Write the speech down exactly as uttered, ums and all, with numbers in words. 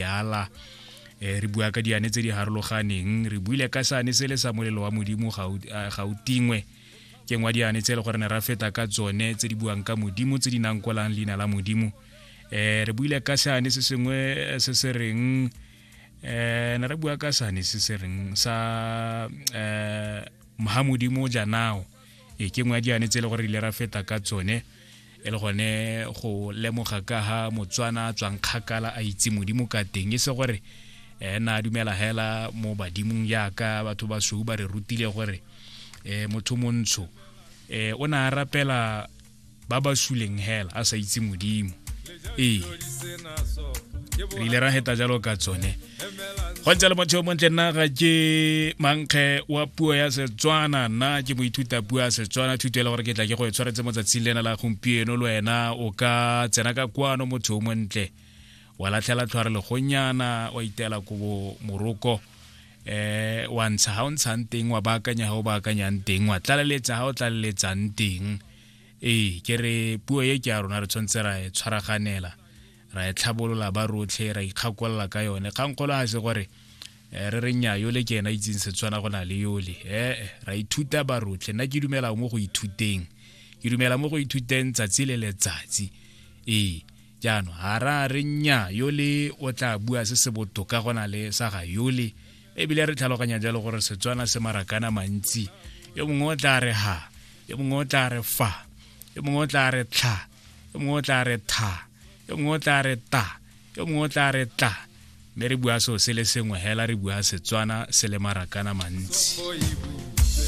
Ala eh re bua ka diane tse di harologaneng, re buile ka sane se le sa molelo wa modimo ga o ga o tingwe, ke ngwa diane tse le gore ne ra feta ka tsone tse di buang ka modimo, tse di nankolang leina la modimo. Eh re buile ka sane se sengwe se se reng, eh ne re bua ka sane se se reng sa eh Mohamodimo janao, e ke ngwa diane tse le gore ile ra feta ka tsone, e le gone go lemoga ka ha Motswana a tswang kgakala a itse modimo ka teng, e se gore eh na dumela hela mo badimong yaka batho ba sou ba re rutile gore eh motho montsho eh o na a rapela ba ba suleng hela a sa itse modimo. Ee, re ile ra heta jalo ka tsone. Go ntse le motho yo montle, nna ga ke mankge wa puo ya Setswana, nna ke moithuta puo ya Setswana, thuto e le gore ke tla ke go e tshwaretse mo tsatsing lena la gompieno. Le wena o ka tsena ka kwano, motho o montle, wa latlhela tlhware legonyana, wa itela kobo moroko, eh wa ntsha ha o ntshang teng, wa baakanya ha o baakanyang teng, wa tlaleletsa ha o tlaleletsang teng. Ee, ke re puo e ke ya rona, re tshwanetse ra e tshwaraganela, ra e tlhabolola ba rotlhe, ra ikgakolola ka yone. Kgangkgolo ga se gore re re nnyaa yole ke ena itseng Setswana go na le yole, ee, ra ithuta ba rotlhe. Nna ke dumela mo go ithuteng, ke dumela mo go ithuteng tsatsi le letsatsi. Ee, jaanong ga ra re nnyaa yole o tla bua se se botoka go na le sa ga yole, ebile re tlhaloganya jalo gore Setswana se marakana mantsi, yo mongwe o tla re ha, yo mongwe o tla re fa, yo mongwe o tla re tlha, yo mongwe o tla re tha, yo mongwe o tla re ta, yo mongwe o tla re tla, mme re bua seo se le sengwe hela, re bua Setswana se le marakana mantsi.